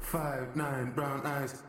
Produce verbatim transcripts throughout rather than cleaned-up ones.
Five, nine, brown eyes.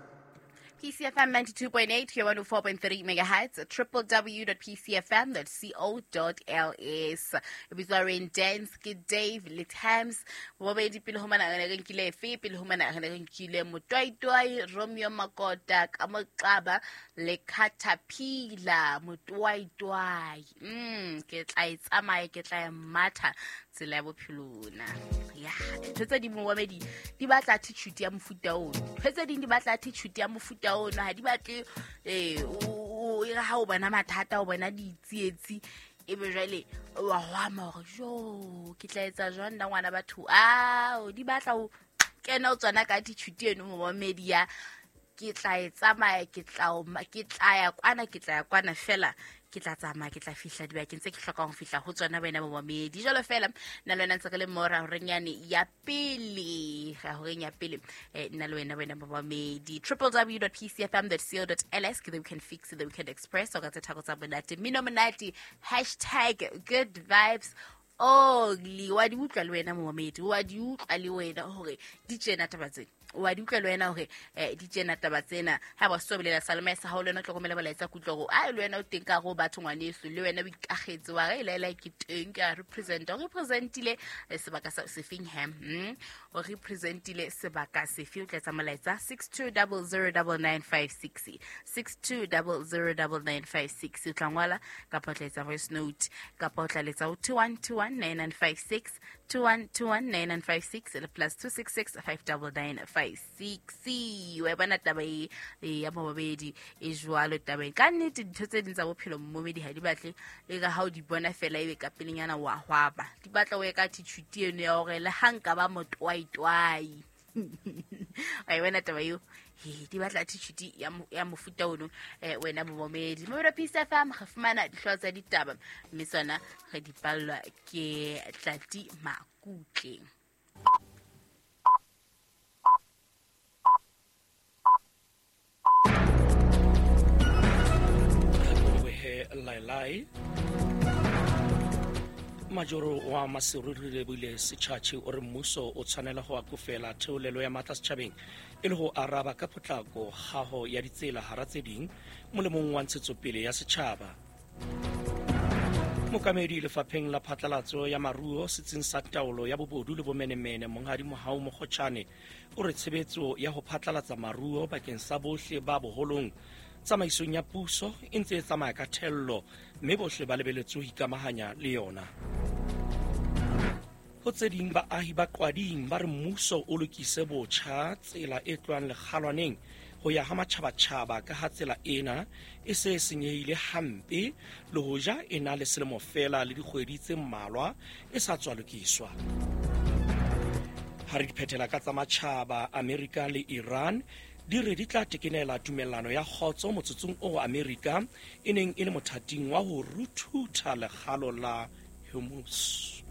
P C F M ninety-two point eight, here one oh four point three megahertz, triple w dot p c f m dot co dot l s. Ebitswa Rain Dance ke Dave le Tams. Bobedi pele ho mana re ne re nkile efe, pele ho mana re ne re nkile Motwaitwai, Romeo Makota, ka Moqaba le Caterpillar, Motwaitwai. Mm, ke tla e tsamaya, ke tla e matha tsela ya bophelo na. Ya, ntho tse ding momamedi di batla attitude ya mofuta ono. Ntho tse ding di batla attitude ya mofuta ono, ha di batle, eh, o, o, e re ha o bona mathata, o bona ditsietsi, ebe jwale wa hwama hore, jo, ke tla etsa jwang nna ngwana batho? Ao, di batla ho kena o tswana ka attitude eno momamedi ya, ke tla e tsamaya, ke tla o ma-, ke tla ya kwana, ke tla ya kwana fela, ke tla tsamaya, ke tla fihla dibakeng tse ke hlokang ho fihla ho tsona wena momamedi. Jwalo fela, nna le wena ntse re le mo horeng yane ya pele, horeng ya pele, eh, nna le wena, wena momamedi. triple w dot p c f m dot co dot l s, ke the Weekend Fix, the Weekend Express, o ka tse tharo tsa monate. Mmino monate, hashtag good vibes only. Wa di utlwa le wena momamedi, wa di utlwa le wena hore di tjena taba tsena. Wa di utlwa le wena hore, eh, di tjena taba tsena. Ha ba so bolela Salome sa hao le wena o tlo romela molaetsa ke utlwa hore, ai, le wena o teng ka hare ho batho ngwaneso, le wena o ikagetse wa re, le, le, ke teng, ke a represent. O representile, eh, sebaka sa sefeng he? Hmm? O representile sebaka sefe? O tla etsa molaetsa six two double zero double nine five six. six two double zero double nine five six. O tla ngola kapa o tla etsa voice note kapa o tla letsa ho two one two one nine nine five six, two one two one nine nine five six, le plus two six six five double nine five six. Wa bona taba e, e ya momamedi e jwalo tabeng. Ka nnete dintho tse ding tsa bophelo momamedi ha di batle e ka ha o di bona fela ebe ka pelenyana wa hwaba. Di batla o ye ka attitude eno ya hore le ha nka ba motwaitwai. Wa e bona taba eo? He, di batla attitude ya mo-, ya mofuta ono, eh, wena momamedi. Momamedi wa P C F M, re fumana dihlooho tsa ditaba, mme tsona re di ballwa ke Tlati Makutle. Lailai Majoro wa Maseru re lebile setjhatjhe o re mmuso o tshwanela ho akofela theolelo ya matla setjhabeng e le ho araba ka potlako kgaho ya ditsela hara tse ding molemong wa ntshetsopele ya setjhaba. Mokamedi lefapheng la phatlalatso ya maruo setsing sa taolo ya bobodu le bomenemene Monghadi Mohau Mokgotjhane o re tshebetso ya ho phatlalatsa maruo bakeng sa bohle ba boholong tsamaisong ya puso e ntse e tsamaya ka thello mme bohle ba lebeletswe ho ikamahanya le yona. Ho tse ding baahi ba Qwading ba re mmuso o lokise botjha tsela e tlohang Lekgalwaneng ho ya ha matjhabatjhaba ka ha tsela ena e se e senyehile hampe le hoja e na le selemo feela le dikgwedi tse mmalwa e sa tswa lokiswa. Ha re di phethela ka tsa matjhaba, Amerika le Iran di re di tla tekenela tumellano ya kgotso motsotsong oo Amerika e neng e le mothating wa ho ruthutha lekgalo la Hormuz.